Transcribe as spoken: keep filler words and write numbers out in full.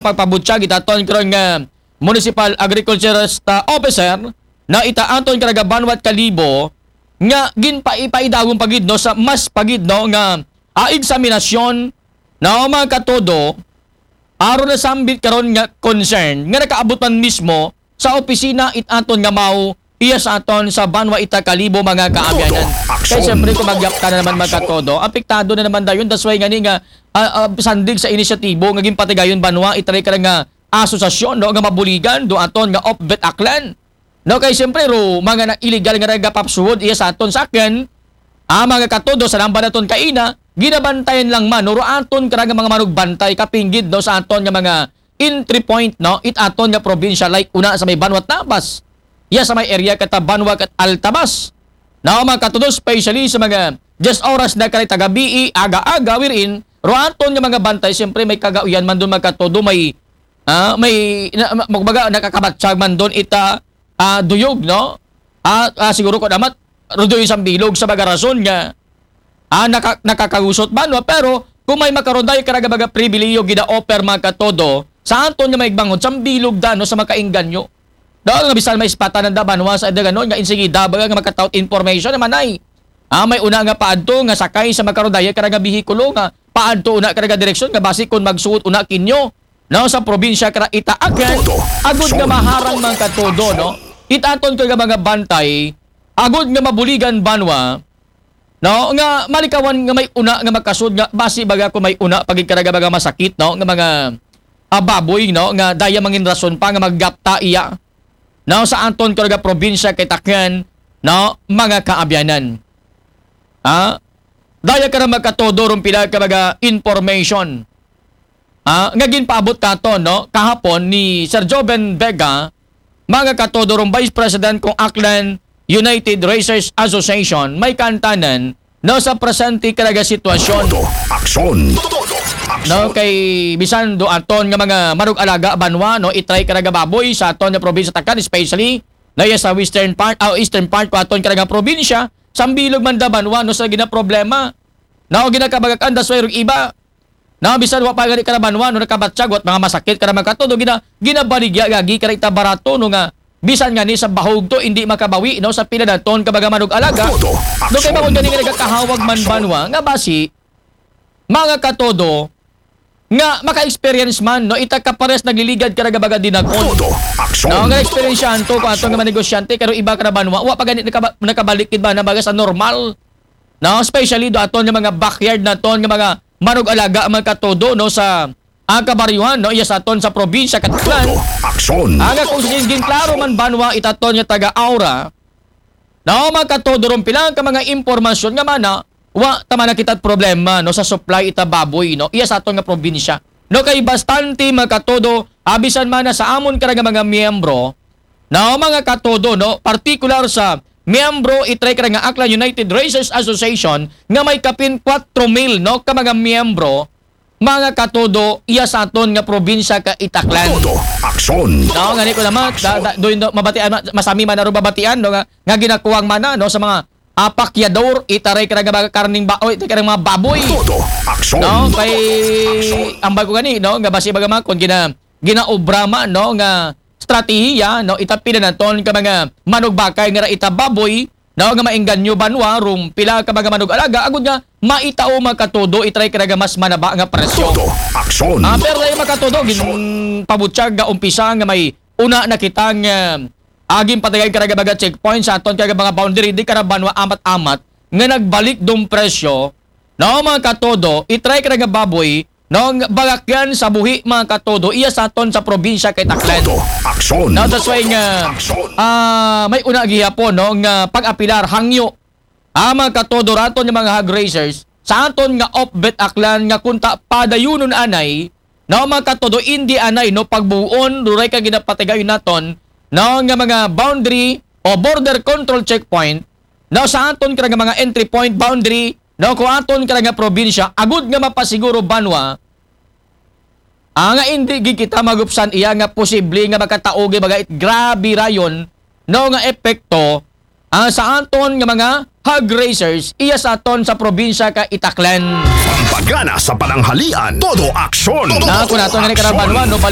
pagpabutyag ita aton karon nga municipal agriculturist, ah, officer, no, ita aton karagabanwa it Kalibo, nga ginpaipaidawon pa gid, no, sa mas pa gid, no, nga, ah, eksaminasyon, no, mga katodo, aron nasambit karon nga concern nga nakaabot man mismo sa opisina it aton nga MAO, iya sa aton sa banwa ita Kalibo, mga kaabyanan. Kay siyempre, kung magyapta na naman, mga katodo, apektado na naman dayon. That's why gani nga, ah, ah, sandig sa inisyatibo nga ginpatigayon banwa, itaray ka nga asosasyon, no, nga mabuligan do aton nga Opvet Aklan. No, kay siyempre, ro, mga na illegal nga nagapapsuhod iya sa aton sakyan, ah, mga katodo, sa lamba naton kaina, ginabantayan lang man, no, ro aton kara nga mga manugbantay, kapinggid, no, sa aton nga mga entry point, no, it aton nga probinsya, like una sa may Banwa Tabas, iya sa may area kata Banwa kat Altabas. No, mga katodo, especially sa mga diyes oras na kara ita gabii, aga-aga, wherein, ro aton nga mga bantay, siyempre may kagauyan man doon, mga katodo, may, ah, may, na, ma-, magbaga, nakakabatsag man doon ita, ah, duyog, no? Ah, ah, siguro ko naman, ro doon sa bilog sa mga rason nga, ah, naka-, nakakagusot man, no? Pero kung may makaroon tayo karaga mga pribiliyo, gina-offer, mga katodo, sa aton nga may bangon, sa bilog da, no, sa makainganyo. Daw nga bisan may ispatan ang dabanwa sa edaganon nga insigida, baga nga makataot information naman ay. Ah, may una nga paadto nga sakay sa makaroon tayo karaga bihikulo nga paadto una karaga direksyon nga basi kung magsuot una kinyo, no, sa probinsya kara ita Aklan, agud nga maharang, mga katodo, no? Itaton ko nga mga bantay, agud nga mabuligan banwa, no, nga malikawan nga may una nga makasud nga basi baga ko may una pagid karaga mga masakit, no, nga mga, ah, baboy, no, nga daya mangin rason pa nga maggapta iya, no, sa anton karaga probinsya kay Takyan, no, mga kaabyanan. Ha? Daya ka na magkatodo rong pila ka mga information, ha, nga ginpaabot katon, no, kahapon ni Sir Joven Vega, mga katodo rong Vice President kong Aklan United Raisers Association, may kantanan, no, sa presente karaga sitwasyon. Todo aksyon. No, kay bisan do aton nga mga manug-alaga banwa, no, itry karaga baboy sa aton nga probinsya Takyan, especially, no, iya sa western part, ah, eastern part ko aton karaga probinsya, sambilog man da banwa, no, sa ginaproblema. No, ginakabagakan da sway rog iba. No, bisan wa pa gani karabanwa, no, nakabatsag, wat mga masakit kara mga katodo, gina-, ginabaligya gagi kara ita barato, no, nga bisan gani sa bahog to, hindi makabawi, no, sa pila naton ka mga manug-alaga. Todo no, kay aksyon. Bangod gani nga nagakahawag man banwa, nga basi, mga katodo, nga maka-experience man, no, ita kapares nagliligad karaga baga dinakon. Todo aksyon. No, nga experience yan to, kung ato nga mga negosyante, karo iba karabanwa, wa pa gani nakaba-, nakabalik gid ba na baga sa normal. No, especially do aton nga mga backyard naton nga mga manug-alaga, mga katodo, no, sa, ah, kabaryuhan, no, iya sa aton sa probinsya Kataklan. Todo aksyon. Ang akong siging klaro man banwa itaton nga taga-aura, no, mga katodo, rong pila ka mga impormasyon nga mana, wa tama na kita't problema, no, sa supply ita baboy, no, iya sa aton nga probinsya. No, kay bastante, mga katodo, abisan man na sa amon kara nga mga miyembro, no, mga katodo, no, partikular sa miyembro itry kara nga Aklan United Raisers Association nga may kapin kwatro mil, no, ka mga miyembro, mga katodo, iya sa aton nga probinsya ka Itaklan. Todo aksyon. No, ngani ko naman, da, da, do, do, mabatian, ma-, masami man na ro babatian, no, nga, nga ginakuwang mana, no, sa mga apakyador, itaray kara nga mga karning baoy, itaray kara mga baboy. Todo aksyon. No, kay ambal ko gani, no, nga basi baga man, kung gina-, ginaobra man, no, nga strategiya, no, itapila naton ka mga manugbakay nga ra ita baboy, no, nga maengganyo banwa, rong pila ka mga manug-alaga, agud nga maitao, mga katodo, itry karaga mas manaba nga presyo. Todo aksyon. Ah, pero dahil, mga katodo, gin pabutyag nga umpisa nga may una na kitang, ah, aging patagay karaga mga checkpoint sa aton karaga mga boundary, di kara banwa amat-amat nga nagbalik dong presyo, no, mga katodo, itry karaga baboy, no, nga bagakyan sa buhi, mga katodo, iya sa aton sa probinsya kay Taklan. Todo aksyon. No, that's why nga, aksyon. Ah, may una gihapon, no, nga pag-apilar hangyo, ah, mga katodo, raton nga mga hog raisers sa aton nga Opvet Aklan nga kunta padayunon anay, no, mga katodo, hindi anay, no, pagbuon, ruray ka ginapatigayon naton, no, nga mga boundary o border control checkpoint, no, sa aton kara nga mga entry point, boundary, no, ko aton kara nga probinsya, agud nga mapasiguro banwa, ah, nga hindi gid kita magupsan iya nga posible nga makataogi baga it grabe rayon, no, nga epekto, ah, sa aton nga mga hog raisers iya sa aton sa probinsya ka Itaklan. Pampagana sa pananghalian, todo aksyon. Na ako nato nga ni karang banwa, no, balik